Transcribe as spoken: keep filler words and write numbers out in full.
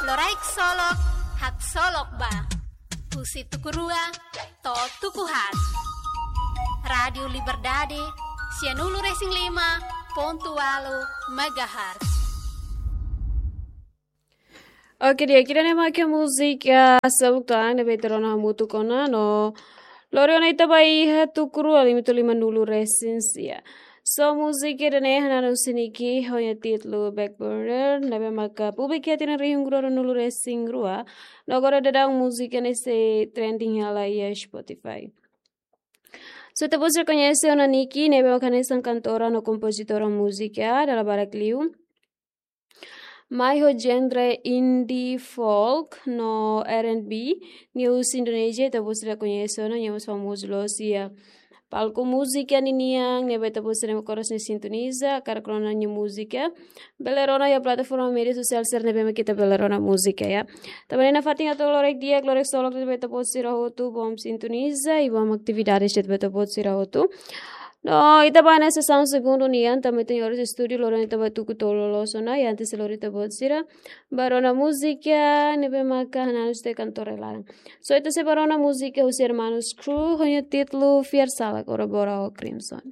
Loraik Solok, haksolok ba. Husi tuku rua to'o tuku haat. Rádiu Liberdade, sianulu-resin-lima pontu ualu megahertz. Oke, di'ak, ida-ne'e mak múzika Seluk To'an ne'ebé ita rona hamutuk ona no lori ona ita ba iha tuku rua lima-nulu-resin-sia. So múzika ida-ne'e hananu siniki ho nia títulu Back Burner, ne'ebé maka publika iha tinan rihun rua ruanulu-resin-rua, no agora daudaun múzika ne'e sei trending hela iha Spotify. So ita-boot sira koñese ona Nicki, ne'ebé maka hanesan kantora no kompozitora múzika dala barak liu. Mai ho genre indie folk no R and B, nia husi Indonézia, ita-boot sira koñese ona, nia mós famozu loos iha palku múzika ninian, ne'ebé ita-boot sira ne'ebé kores ne'e sintoniza, hakarak rona nia múzika. Bele rona iha plataforma média sosiál sira ne'ebé mak ita bele rona múzika, ya. Tanba ne'e nafatin atu loraik di'ak, loraik solok de'it ba ita-boot sira hotu, bom sintoniza i bom atividades de'it ba ita-boot sira hotu. No ita ba iha sesaun segundu nian, tanba ita iha oras estúdiu, lori ona ita ba tuku tolu loos ona, i antes lori ita-boot sira ba rona múzika ne'ebé maka hananu husi kantora ida laran. So ita sei ba rona múzika husi Hermanos Crew, ho nia títulu Fiar Sala, kolaborasaun ho Crimson.